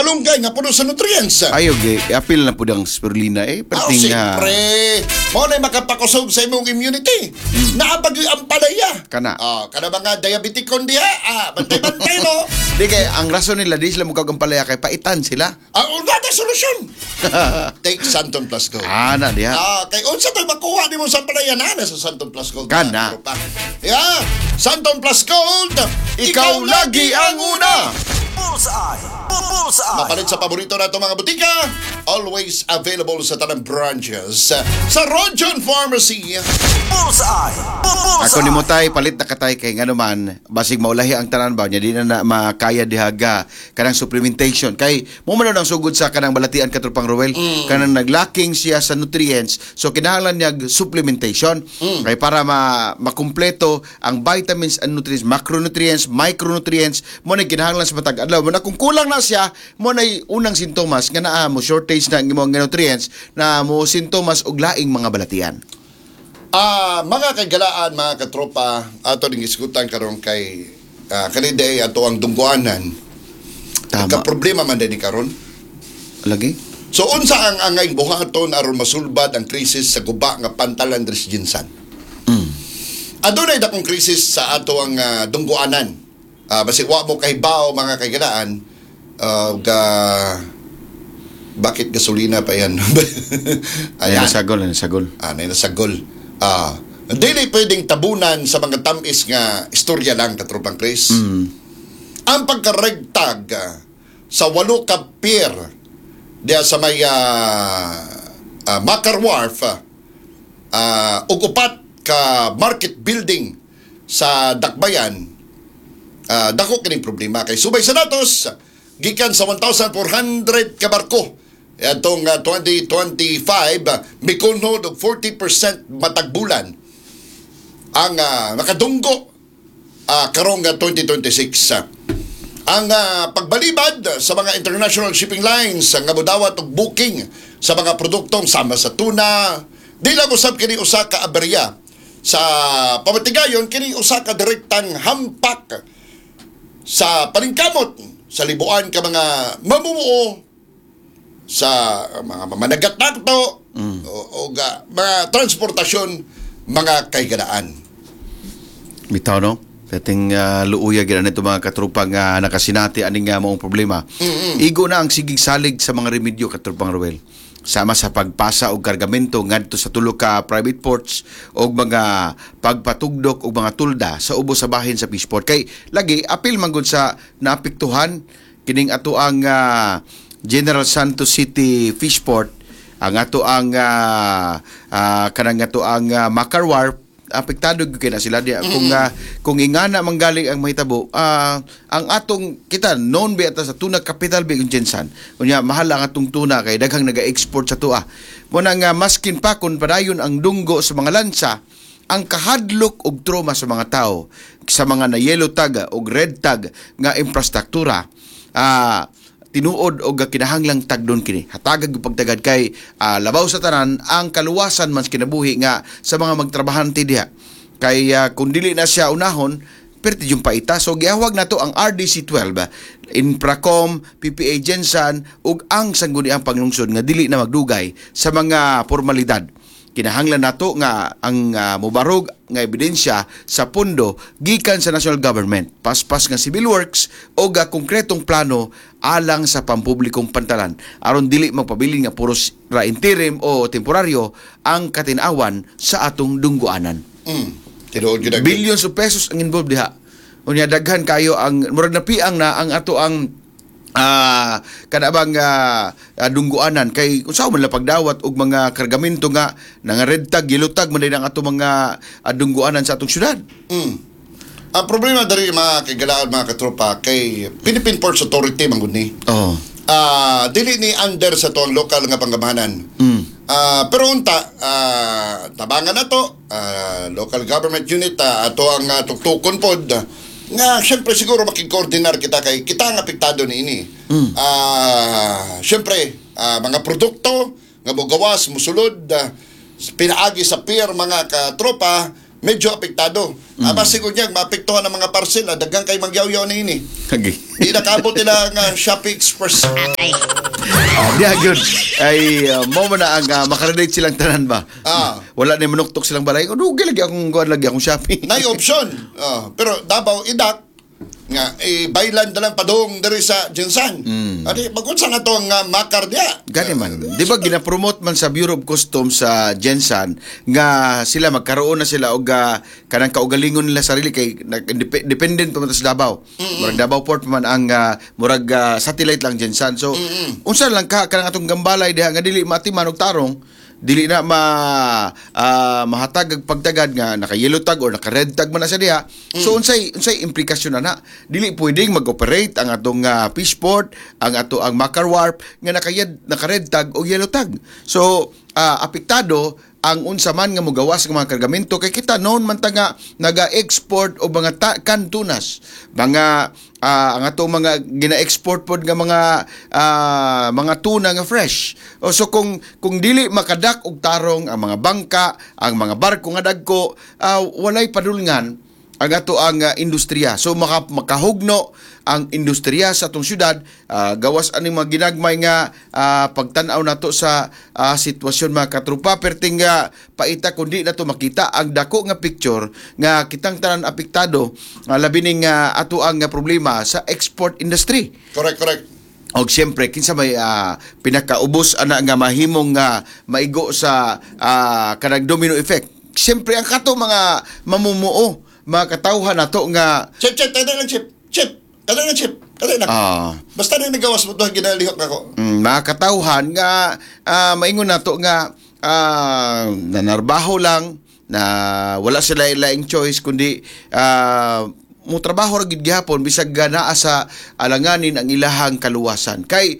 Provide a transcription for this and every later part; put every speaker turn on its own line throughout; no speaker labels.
Malunggay nga puno sa nutrients.
Ayo ge, apil na pud ang spirulina eh.
Ah,
Perting nga
siyempre. Mao na makapakusog sa imong immunity. Naa pa gyud ang palaya.
Kana.
Ah, kana mga diabetic kon diha. Ah, bantay-bantay mo.
Di kay ang rason nila di sila mukag ang palaya kay paitan sila.
Ah, wala na solusyon. Take Santon Plus Gold.
Ah, na diha.
Ah, kay unsa to'y makuha nimo sa palaya na sa Santon Plus Gold.
Kana.
Tropa. Yeah, Santon Plus Gold.
Ikaw lagi ang una.
Bullseye! Bullseye!
Mapalit sa paborito nato mga butika, always available sa tanang branches. Sa Rojon Pharmacy.
Bullseye! Bullseye!
Ako ni mo tay palit na katay kay ngano man basig maulahi ang tanan ba nya di na, na makaya dihaga kanang supplementation kay mo man ang sugod sa kanang balatian, katropang Ruel, kanang naglacking siya sa nutrients, so kinahanglan niya og supplementation kay para ma makumpleto ang vitamins and nutrients, macronutrients, micronutrients mo na kinahanglan sa matag adlaw. Mo na kung kulang na siya, mo na unang sintomas nga naa mo shortage na ang imong nga nutrients na mo sintomas og laing mga balatian.
Ah, mga kagalaan, mga katropa, ato ning isgutan karon kay kaniday ato ang dungguanan.
Tama.
Ka problema man din ni karon.
Lagi.
So unsa ang angay buhaton aron masulbad ang krisis sa guba nga pantalan diri sa GenSan? Adunay dakong krisis sa ato ang dungguanan. Basig wa mo kahibaw, mga kagalaan, ga bakit gasolina pa yan?
Ay,
Ayan.
nasagol, nasagol.
Ah, na nasagol. Ah, dili pwedeng tabunan sa mga tamis nga istorya lang, katropang Chris. Ang pagka-red tag sa walo ka pier diya sa may Macar Wharf ug upat ka market building sa Dakbayan, dako kining problema kay subay sa datos gikan sa 1,400 ka barko atong 2025, mikunhod og 40% matag bulan ang nakadunggo karong 2026. Ang pagbalibad sa mga international shipping lines nga modawat og booking sa mga produktong sama sa tuna, di lang usab kini usa ka aberya sa pamatigayon, kini usa ka direktang hampak sa paningkamot sa libuan ka mga mamumuo sa mga mamanagat nato o mga transportasyon, mga kaiganaan.
Bitaw no? Dating luuya gid nito, mga katropang nakasinati ani nga maong problema. Igo na ang sigig salig sa mga remedyo, katropang Ruel. Sama sa pagpasa og kargamento ngadto sa tulo ka private ports og mga pagpatugdok og mga tulda sa ubos sa bahin sa fishport. Kay lagi apil man gud sa naapektuhan kining ato ang General Santos City Fishport, ang ato ang kanang ato ang Macar Wharf, apektado gyud kay na sila diya. Kung ingana manggaling ang mahitabo, ang atong kita known bi ata sa tuna capital bi ang GenSan. Unya mahal ang atong tuna kay daghang naga-export sa tua. Mo na nga maskin pa kun padayon ang dunggo sa mga lansa, ang kahadlok og trauma sa mga tao sa mga na yellow tag og red tag nga infrastruktura, tinuod og kinahanglang tagdon kini, hatagag og pagtagad kay labaw sa tanan ang kaluwasan man sa kinabuhi nga sa mga magtrabahante diha kay kung dili na siya unahon, perti yung paita. So giahwag nato ang RDC 12, Infracom, PPA GenSan ug ang Sangguniang Panglungsod nga dili na magdugay sa mga formalidad. Kinahanglan nato nga ang mobarog nga ebidensya sa pondo gikan sa national government, paspas nga civil works o ga konkretong plano alang sa pampublikong pantalan aron dili magpabilin nga puros ra interim o temporaryo ang katinawan sa atong dungguanan.
Tinuod gyud ang
Billions of pesos ang involved diha. Unya daghan kayo ang murag napiang na ang ato ang kana bang dungguanan kay kung saan man lang pagdawat og mga kargamento nga nga red tag, yellow tag man din ang ato mga dungguanan sa atong syudad.
Ang problema diri, mga kagalaan, mga katropa, kay Philippine Ports Authority man gud ni. Dili ni under sa tuang lokal nga panggamhanan. Pero unta tabangan na to local government unit, ato ang tuktukon pod nga syempre siguro makig-coordinar kita kay kita ang apektado niini. Syempre mga produkto nga mogawas musulod pinaagi sa pier, mga katropa. Medyo apektado. Siguro niya, maapektuhan ang mga parcel. Daghan kay magyawyaw na ini.
Okay.
Di nakabot nila ang Shopee Express.
Diya gyud ay mo man na ang makarelate silang tanan ba. Wala na manuktok silang balay. Oh, dugay lagi akong kuan, lagi akong Shopee.
Nay option. Pero Davao idak nga eh, baylan na lang padung diri sa GenSan. Adi magunsa na to ang makar diya.
Gani man. Di ba gina-promote man sa Bureau of Customs sa GenSan nga sila magkaroon na sila og kanang kaugalingon nila sarili kay dependent pa man ta sa Davao. Murag Davao Port pa man ang murag satellite lang GenSan. So unsa lang ka kanang atong gambalay diha nga dili matiman og tarong, dili na ma mahatag og pagtagad nga naka yellow tag or naka red tag man na siya diha. So unsay unsay implikasyon na na? Dili pwedeng mag-operate ang atong fishport, ang ato ang Makar Wharf nga naka red tag o yellow tag. So apektado ang unsa man nga mogawas nga mga kargamento kay kita noon man ta nga naga-export og mga canned tunas, mga ang atong mga gina-export pod nga mga tuna nga fresh. O so kung dili makadak og tarong ang mga bangka, ang mga barko nga dagko, walay padulngan ang ato ang industriya. So makahugno ang industriya sa atong syudad, gawas aning mga ginagmay nga pagtan-aw nato sa sitwasyon, mga katrupa, perting nga paita kundi nato makita ang dako nga picture nga kitang tanan apektado, labi ning ato ang problema sa export industry.
Correct, correct.
Og siyempre kinsa may pinakaubos ana nga mahimong nga maigo sa kanang domino effect? Siyempre ang kato mga mamumuo, mga katawhan nato nga
Chip, chip, kada lang chip. Chip, kada lang chip. Kada lang. Basta na nagawas mo to ginalihok ako.
Mga katawhan nga maingon nato nga nanarbaho lang na wala sila laing choice kundi mo trabaho ra gid gihapon bisag naa sa alanganin ang ilahang kaluwasan kay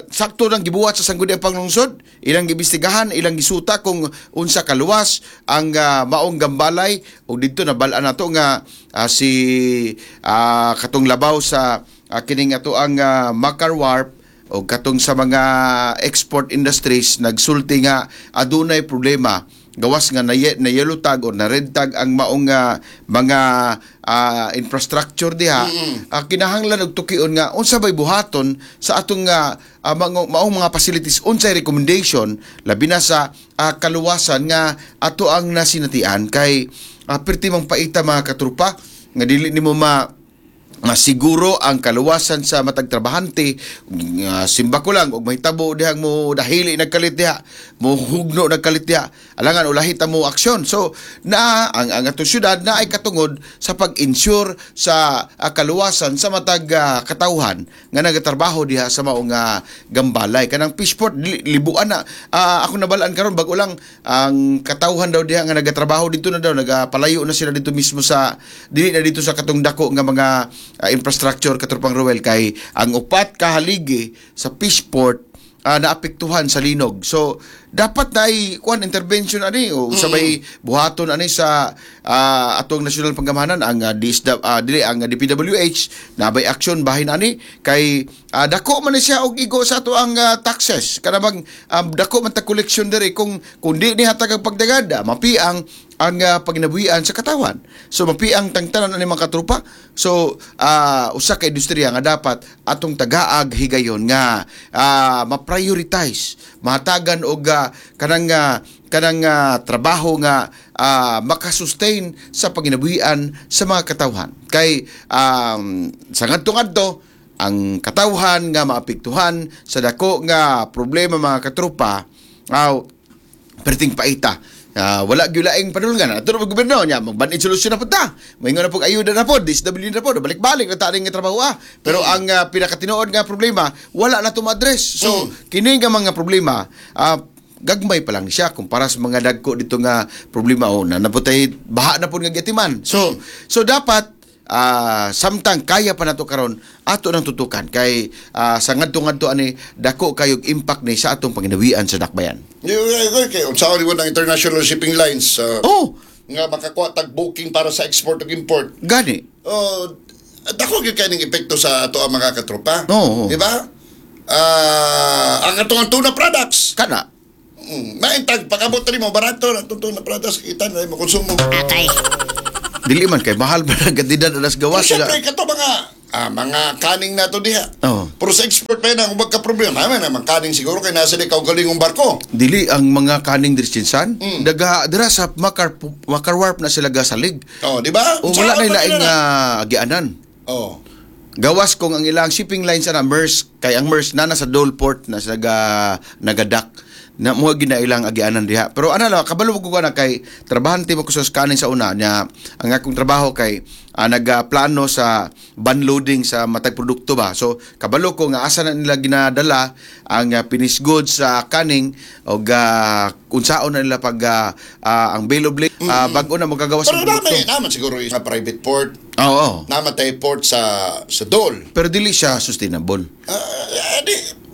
sakto nang gibuhat sa Sangguniang Panglungsod, ilang giimbestigahan, ilang gisuta kung unsa kaluwas ang maong gambalay ug didto nabal-an nato nga si katong labaw sa kining ato ang Makar Wharf o katong sa mga export industries nagsulti nga adunay problema gawas nga na yellow tag o na red tag ang maong mga infrastructure diha. Kinahanglan og tukion nga unsa bay buhaton sa atong maong mga facilities, unsay recommendation labi na sa kaluwasan nga ato ang nasinatian kay perti mang paita, mga katrupa, nga dili nimo ma nga siguro ang kaluwasan sa matag trabahante. Nga simba ko lang og mahitabo dihang mo dahili nagkalit diha, mo hugno nagkalit diha, alangan ulahi ta mo aksyon. So na ang atong syudad na ay katungod sa pag-ensure sa kaluwasan sa matag katawhan nga nagatrabaho diha sa maong gambalay kanang fishport libuan na. Ako nabalaan karon bag-o lang, ang katawhan daw diha nga nagatrabaho dito na daw nagapalayo na sila dito mismo sa dili na dito sa katong dako nga mga infrastructure, katropang Ruel, kay ang upat ka haligi sa fishport naapektuhan sa linog. So dapat na ay kuan intervention ani o sabay buhaton ani sa atong nasyonal panggamhanan ang DSW, dili ang DPWH na bay action bahin ani kay dako man ni siya og igo sa ato ang taxes kana bang dako man ta collection diri kung di ni hatag ang pagdagad, mapiang ang paginabuhian sa katawan. So mapiang tangtanan ani mga katrupa. So usa ka industriya nga dapat atong tagaag higayon nga ma-prioritize, mahatagan og kanang trabaho nga makasustain sa paginabuhian sa mga katawhan. Kay sa ngadto-ngadto ang katawhan nga maapektuhan sa dako nga problema, mga katrupa, aw perting paita. Wala gyud laing padulngan. Ato na gobyerno nya magban-id solusyon na pud ta. Moingon na pug ayuda na pod, DSWD na pod, balik-balik na ta nga trabaho ah. Pero ang pinakatinuod nga problema wala na to ma-address. So kini nga mga problema gagmay pa lang siya kumpara sa mga dagko dito nga problema o na naputay baha na pud nga giatiman. So dapat samtang kaya pa nato karon ato nang tutukan kay sa ngadto-ngadto ani dako kayog impact ni sa atong panginawian sa dakbayan.
Okay, unsa ni ng international shipping lines nga makakuha tag booking para sa export ug import.
Gani.
Oh, dako gyud kay ning epekto sa ato ang mga katropa.
Oo.
Di ba? Ang atong tuna products.
Kana.
Maintag pag-abot rin mo barato na tunto na pratas kita na mo konsumo.
Atay.
Dili man kay mahal ba ang kantidad alas gawas
Pero syempre kato mga mga kaning nato diha.
Oo.
Pero sa export pa yun ang magka problema. Naman naman kaning siguro kay nasa di kaugalingong barko.
Dili ang mga kaning diri Sinsan, daga dira sa Makar Wharf na sila gasalig.
Oh, di ba?
O wala
Saan
na
ba
laing
nila na?
agianan.
Oh.
Gawas kung ang ilang shipping lines na Maersk, kay ang Maersk na nasa Dole Port na sa nagadak na mo gina ilang agianan diha. Pero ana lang, kabalo ko na kay trabahante mo ko sa scanning sa una nya ang akong trabaho kay nagaplano sa van loading sa matag produkto ba. So kabalo ko nga asa na nila ginadala ang finished goods sa kaning og unsaon na nila pag ang bill of lading bag-o na magagawas
Pero
ang produkto.
naman, naman siguro yung private port,
Oo.
namatay port sa Dole.
Pero dili siya sustainable.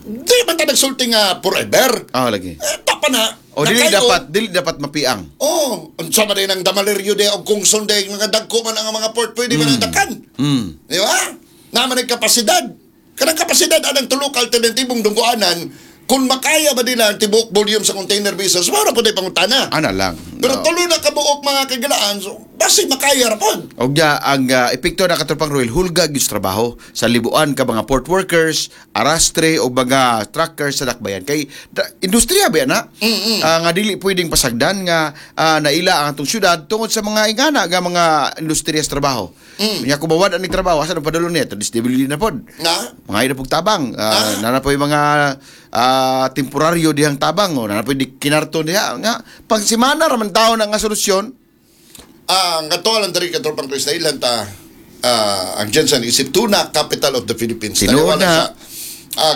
Di man ta nagsulti nga forever.
Ah, lagi.
Eh, tapa na.
O dili
Nakayo.
dapat dili dapat mapiang.
Oh, unsa man din ang Damaleryo de og Kungson de mga dagko man ang mga port pwede man ang dakan. Di ba? Naman ang kapasidad. Kanang kapasidad anang tulo ka alternatibong dunggoanan kung makaya ba nila ang tibuok volume sa container vessels, wala po tayo pangutana.
Ana lang.
Pero
No.
tulo na kabuok mga kagalaan, so basi makaya ra pod.
Og ya, ang epekto na katropang Roel, hulga gyud sa trabaho sa libuan ka mga port workers, arastre o mga truckers sa dakbayan. Kay industriya ba na? Nga dili pwedeng pasagdan nga naila ang atong syudad tungod sa mga ingana nga mga industriya sa trabaho. Nya kung mawad ang trabaho, asa nang padulong niya? Disability na pod.
Na?
Mga ina pog tabang. Nana po yung mga temporaryo dihang tabang. O, nana po yung kinarto diha. Nga, pang simana raman tao na nga solusyon.
Ang ato lang diri katropang Chris na ilan ta ang Jensen isip tuna capital of the Philippines.
Tinuod
Naniwala
na.
siya,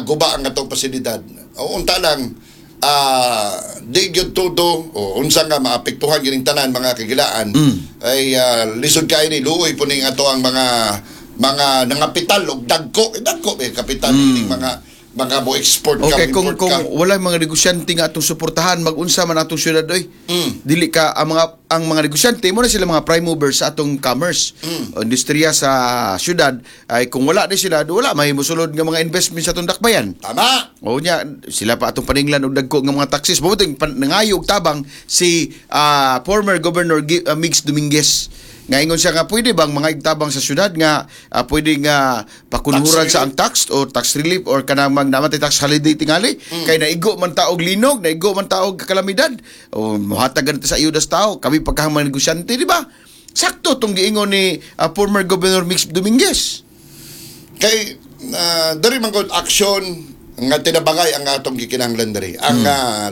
guba ang atong pasilidad. O unta lang di gyud todo o unsa nga maapektuhan gining tanan mga kagilaan ay lisod kaayo ni luoy po ning ato ang mga nangapital og dagko eh, dagko eh kapital ining mga mo export ka
Okay, kung
import
kung
ka.
wala mga negosyante nga atong suportahan, magunsa man atong syudad oy. Dili ka ang mga negosyante mo na sila mga prime movers sa atong commerce. O, industriya sa syudad ay kung wala di sila, wala mahimo sulod nga mga investment sa atong dakbayan.
Tama.
O nya sila pa atong paninglan og dagko nga mga taxes. Buting nangayo og tabang si former Governor Migs Dominguez. Nga ingon siya nga pwede bang mga igtabang sa syudad nga pwede nga pakunhuran
Tax
sa ang tax o tax relief or kanang mag namatay tax holiday tingali kay naigo man ta og linog, naigo man ta og kalamidad o mohatag ganito sa ayuda sa tao kami pagkahang mga negosyante, di ba? Sakto tong giingon ni former Governor Migs Dominguez.
Kay diri man gud action nga tinabangay ang atong gikinahanglan diri. Ang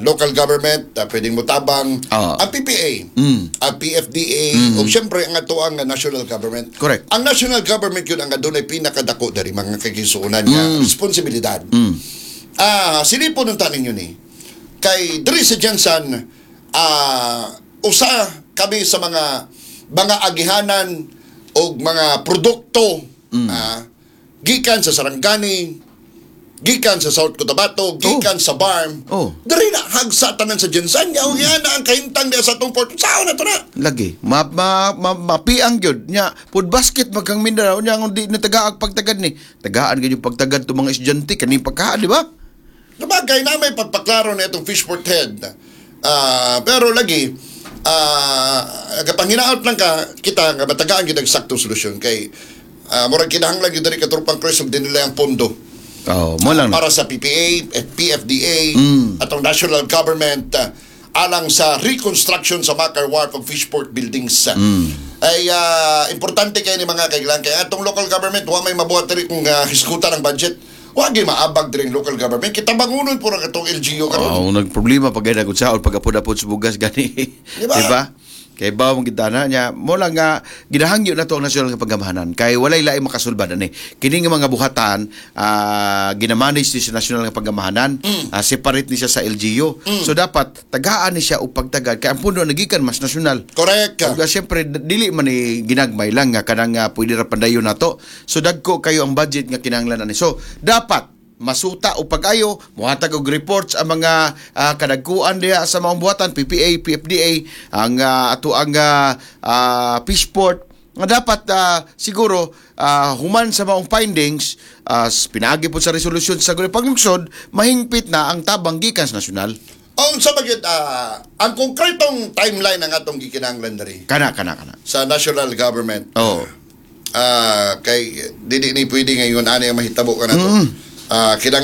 local government pwedeng motabang, ang PPA, ang PFDA, ug syempre ang ato ang national government.
Correct.
Ang national government yun ang adunay pinakadako diri mga kagisuonan nga responsibilidad. Silipon ng tanin yun eh. Kay diri sa Jensen, usa kami sa mga agihanan og mga produkto gikan sa Sarangani, gikan sa South Cotabato, gikan sa BARMM. Diri na hagsa tanan sa Jensen. Yaw yan na ang kahimtang diya sa atong port. Saan na to na?
Lagi. Ma, ma, ma, mapiang gyud nya. Food basket magkang Mindanao nya kung di na tagaag pagtagad ni. Tagaan gyud yung pagtagad to mga estudyante kaning pagkaha, di ba?
Sabagay na may pagpaklaro na itong fishport head. Pero lagi, kapag hinaot lang ka, kita nga matagaan gyud ang saktong solusyon kay murag kinahanglan gyud diri katropang Chris og dinila ang pondo
Oh, mo lang na.
para sa PPA, PFDA, atong national government alang sa reconstruction sa Makar Wharf of Fishport buildings. Ay importante kay ni mga kaiglan kay atong local government wa may mabuhat diri kung hisgutan ang budget. Wa gyud maabag diri ang local government. Kita bangunon puro katong LGU karon.
Oh, nagproblema pag ay nagutsaon pag apod-apod sa bugas gani.
Di ba?
Di ba? Kay bawo mong gitana niya, mo lang nga ginahangyo na to ang nasyonal nga paggamahanan kay walay laing makasulbad ani. Kini nga mga buhatan ginamanage ni sa nasyonal nga paggamahanan, separate ni siya sa LGU. So dapat tagaan ni siya og pagtagad kay ang pundo nagikan mas nasyonal.
Correct.
Ug siyempre dili man ni ginagmay lang nga kanang pwede ra pandayon nato. So dagko kayo ang budget nga kinahanglan ani. So dapat masuta o pag-ayo mohatag og reports ang mga kadagkuan diha sa maong buhatan PPA, PFDA, ang ato ang Fishport nga dapat siguro human sa maong findings pinaagi po sa resolusyon sa Sangguniang Panglungsod mahingpit na ang tabang gikan sa nasyonal.
Ang sa magyud ang konkretong timeline ang atong gikinahanglan diri
Kana kana kana.
sa national government.
Oh.
Kay dili ni pwede ngayon ani ang mahitabo kanato. Kinahanglan